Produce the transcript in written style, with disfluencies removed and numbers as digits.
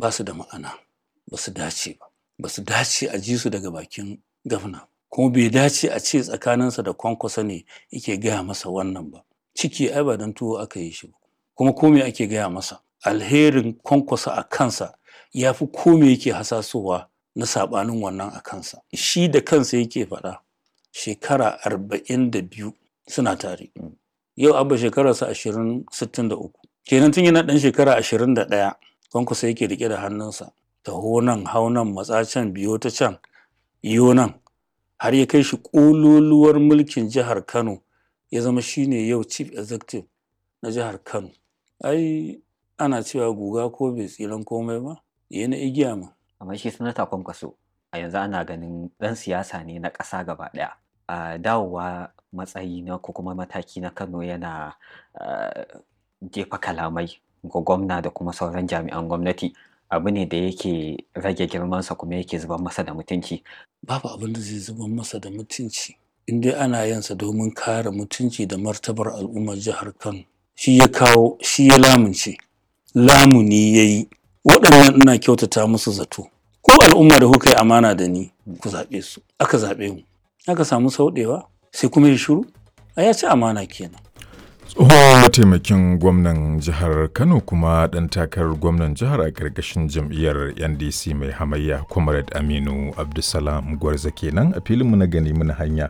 Ba su da ma'ana, ba su dace ba, ba su dace a ji su daga bakin gwamna. Kuma bai dace a ce tsakaninsa da Kwankwaso ne yake gaya masa wannan ba. Ciki ai ba don tuwo aka yi shi ba. Kuma ko me ake gaya masa? Alherin Kwankwaso a kansa ya fi ko me yake hasasowa na saɓanin wannan a kansa. Shi da kansa yake faɗa shekara 42 suna tare. Yau Abba shekararsa 63. Kenan tun yana ɗan shekara 21 Kwankwaso yake riƙe da hannunsa. Taho nan, hau nan, matsa can, biyo ta can, iyo nan. Har ya kai shi ƙololuwar mulkin jihar Kano ya zama shine yau chief executive na jihar Kano. Ai ana cewa guga ko bai tsiran komai ba, ya na igiya ma. Amma shi Sanata Kwankwaso a yanzu ana ganin ɗan siyasa ne na ƙasa gaba ɗaya. A dawowa matsayi na ko kuma mataki na Kano yana jefa kalamai ga gwamna da kuma sauran jami'an gwamnati abu ne da yake rage girmansa kuma yake zubar masa da mutunci. Babu abin da zai zubar masa da mutunci in dai ana yin sa domin kare mutunci da martabar al'ummar jihar Kano. Shi ya kawo, shi ya lamunce, lamuni ya yi. Waɗannan ina kyautata musu zato. Ko al'umma da kuka yi amana da ni ku zaɓe su, aka zaɓe mu. Aka samu sauɗewa sai kuma ya shiru, ai ya ci amana kenan. Tsohon mataimakin gwamnan jihar Kano kuma ɗan takarar gwamnan jihar a ƙarƙashin jam'iyyar NDC mai hamayya, Comrade Aminu Abdulsalam Gwarza kenan a filinmu na gani muna hanya.